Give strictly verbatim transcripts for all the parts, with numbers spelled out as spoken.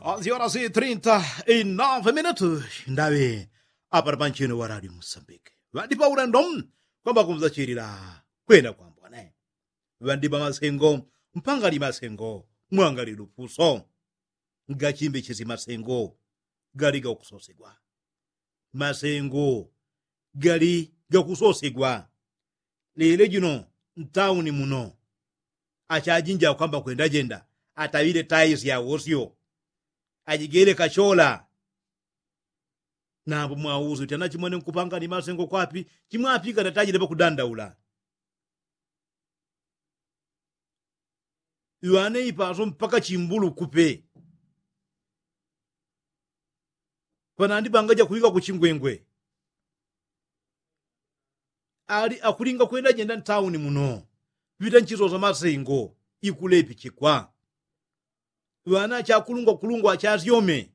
Aziorasi trinta inove minutu ndaŵe. Apano panchino wa radio musambike ŵandipa ulendo kwamba kumzachilila kwenda kwambone. Ŵandipa masengo mpanga li masengo mwanga lilupuso. Ngachimbechesi masengo gali gakusosegwa. Masengo gali gakusosegwa. Lele jino ntauni muno achajinja kwamba kwendajenda ataŵile taisi yawosyo. Ajigele kachola. Nambo mwausi uti anachimwene nkupanga ni masengo kwapi? Chimwapika natajile pakudandaula. Iŵane ipaso mpaka chimbulu kupe. Panandi pangaja kuŵika kuchingwengwe. Ali akulinga kwenda jenda ntauni muno ŵita nchisosa masengo. Ikulepichikwa. Ŵana achakulungwa kulungwa achasyome.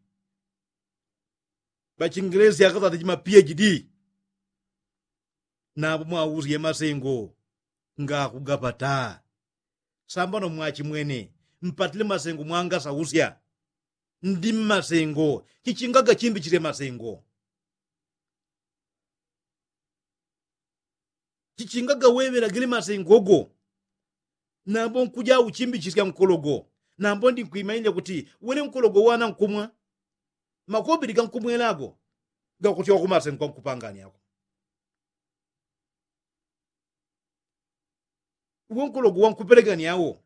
Ŵachingelesi akasata chima phd. Napo mwausi ye masengo ngakugapata. Sambano mwachimwene mpatile masengo mwangasausya. Ndi mmasengo chichingaga chimbichisye masengo. Chichingaga weŵelagile masengogo. Nambo nkuja uchimbichisya nkologo. Nambo ndi nkwimaile kuti wele nkologo wana nkumwa. Makobili gankumwelago gakutyoka kumasengo gankupangani ako. Uwo nkologo wankupelegani awo.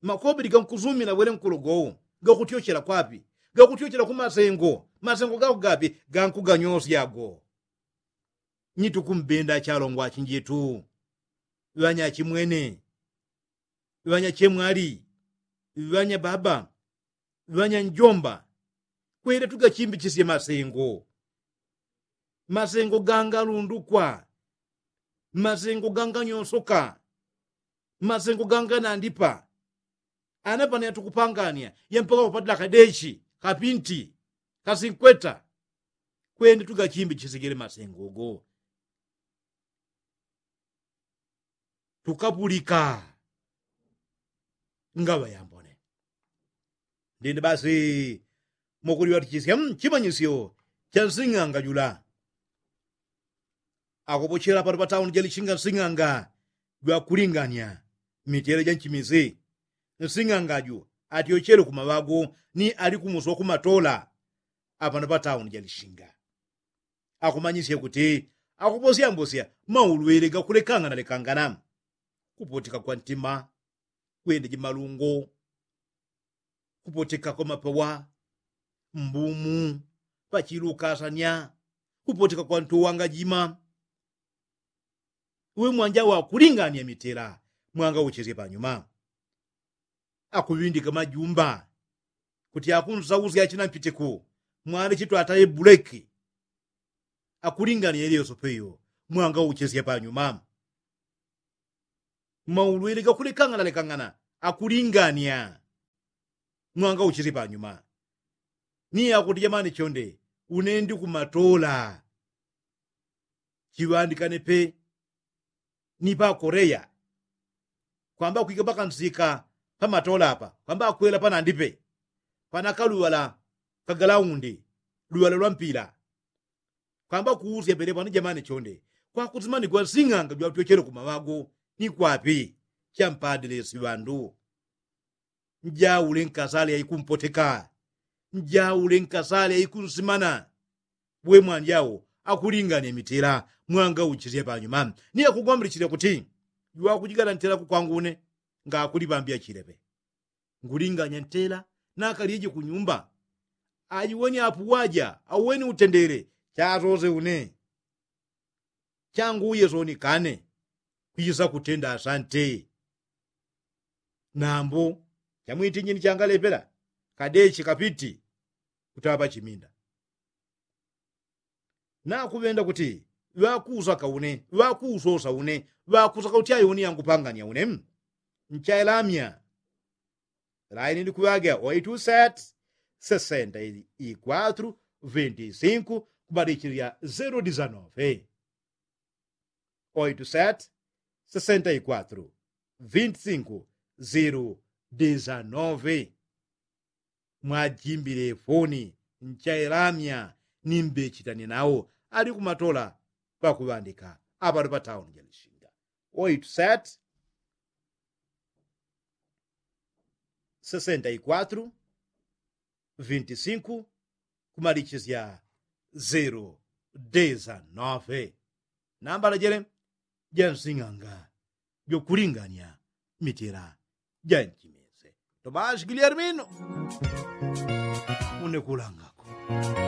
Makobili gankusumila wele nkologo wo gakutyochela kwapi? Gakutyochela kumasengo. Masengo gako gapi? Gankuganyosya ago. Ni tukumbenda achalongwa achinjetu, ŵanyachimwene, ŵanyachemwali, ŵanyababa, ŵanyanjomba, kwele tugachimbichisye masengo. Masengo gangalundukwa. Masengo ganganyosoka. Masengo ganganandipa. Ana pano yatukupangania yampaka kupatila kadechi, kapinti, kasinkweta. Kwende tugachimbichisigile masengo go. Tukapulika ngaŵa yambone. Ndindi basi mukuliŵatichisya chimanyisyo cha nsing'anga jula. Akupochela pano patauni jalishinga nsing'anga jwakulingania mitele ja nchimisi. Nsing'anga ju atyochele kumaŵagu ni ali kumusi wa kumatola. Apano patauni jalishinga akumanyisya kuti akuposyambosya maulwele gakulekangana lekangana. Kupotika kwa ntima, kwenda jimalungo, kupotika kwa mapawa, mbumu, pachilukasanya, kupotika kwa ntuwanga jima. Uwe mwanja wakulingania mitela mwanga uchesye panyuma. Akuŵindika majumba kuti akunsausya achina mpitiku mwale chitwataye buleki. Akulingania ilyosope iyo mwanga uchesye panyuma. Maulwele gakulekangana lekangana akulingania mwanga uchesye panyuma. Ni akuti jamani chonde, une ndi kumatola. Chiŵandikane pe ni pa koreya. Kwamba kwika pakansika pamatola apa kwamba akwela panandipe panakaluŵala kagalaundi, luŵala lwa mpila. Kwamba kuusya pele pano jamani chonde, kwakusimanigwa nsing'anga jwatyochele kumaŵagu ni kwapi? Champadilesi ŵandu. Njaule nkasale yaikumpoteka. Njaule nkasale yaikunsimana. We mwanjau akulingania mitela mwanga uchisye panyuma. Ni akugwambilichisya kuti jwakujigala ntela kukwangu une ngakuliŵambya chileŵe. Ngulinganya ntela nakalyeje kunyumba. Ajiweni apuwaja auweni utendele. Chasose une changu uye soni kane. Kwisa kutenda asante. Nambo chamwiti nyini changalepela kadechi kapiti kutaŵa pachiminda. Nakuŵenda kuti ŵakuusaka une ŵakuusosa une ŵakusaka kuti ayo une yangupangania une. Nchailamya laini ndikuŵaga oitu set sesenta i kwatru vinti sinku kubadichilya zero disanove. Oitu set sesenta i kwatru vinti sinku zero. desanove. Mwajimbile foni nchailamya ni mbechitani nawo ali kumatola pakuŵandika apano pa tauni ja lishinga. Oitu seti sesenta i kwatru vinti sinku kumalichisya zero desanove. Nambala jele ja nsing'anga jokulinganya mitela ja nchimese. Tomashi giliarimino unekulangako.